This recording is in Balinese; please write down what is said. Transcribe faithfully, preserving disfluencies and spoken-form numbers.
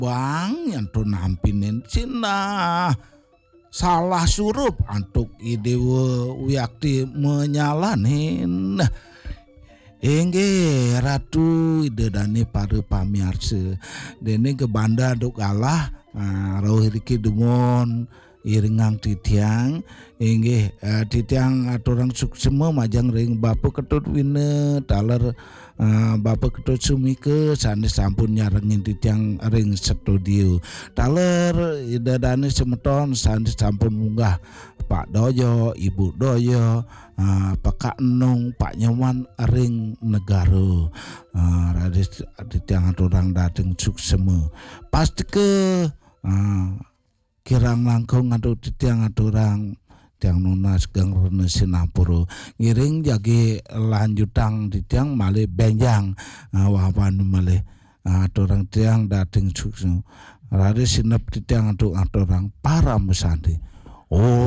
bang nyanto nampinin sinah salah surup antuk Idewa Wiakti menyalanin. Inggih Ratu Ida Dane para pamiarsa. Dene gebanda duk galah, ah, rauh iriki dumun iringang titiang. Inggih, ah, titiang aturang suksma majeng ring Bapa Ketut Wina taler, ah, Bapa Ketut Sumika sane sampun nyarengin titiang ring studio. Taler Ida Dane semeton sane sampun munggah Pak Doyo, Ibu Doyo, ah, Pak Enung, Pak Nyoman ring negara. Ah, raris titiang aturang dating suksma. Pastika, ah, kirang langkung antuk titiang aturang tiang nunas geng rena sinampura. Ngiring jagi lanjutang titiang malih benjang, ah, wawan malih. Ah, aturang tiang dating suksma. Raris sinep titiang antuk aturang parama santi. Om